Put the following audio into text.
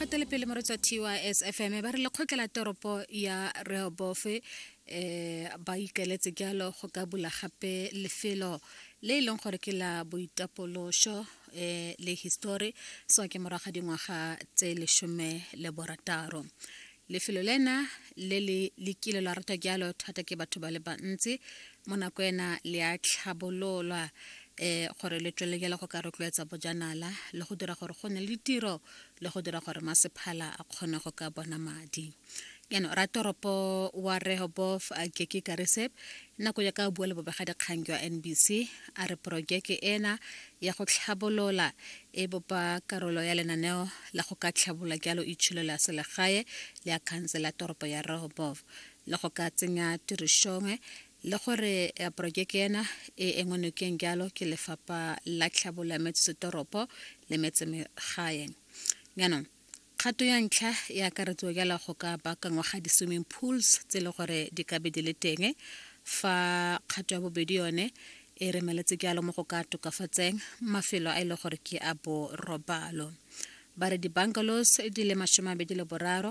Fetele pele moretsi wa TYS FM ba re lekgotla la toropo ya Rehoboth eh ba ikaletse jalo go ka bula gape lefelo le e leng gore ke la boitapološo eh le histori so ke morago ga dingwaga tse 16. Lefelo lena le le le kile la ratwa jalo thata ke batho ba le bantsi mo nako ena le a tlhabololwa eh gore le tswelele jalo go ka rotloetsa bojanala le go dira gore go nne le ditiro le go dira gore masephala a kgone go ka bona madi. Jaanong ratoropo wa Rehoboth Keke Kariseb nako ya ka bua le bobegadikgang jwa NBC a re porojeke ena ya go tlhabolola e bopa karolo ya lenaneo la go ka tlhabolola jalo itsholo la selegae le ya khansele ya toropo ya Rehoboth le go ka tsenya tirišong le gore eh, porojeke ena e engwe nokeng jalo ke lefapha la tlhabolo ya metsesetoropo le metsemegae. Jaanong kgato ya ntlha e akaretswa jalo go ka baakangwa ga di-swimming pools tse e le gore di ka be di le teng fa kgato ya bobedi yone e remeletse jalo mo go ka tokafatseng mafelo a e le gore ke a borobalo. Ba re di-bungalows di le 23.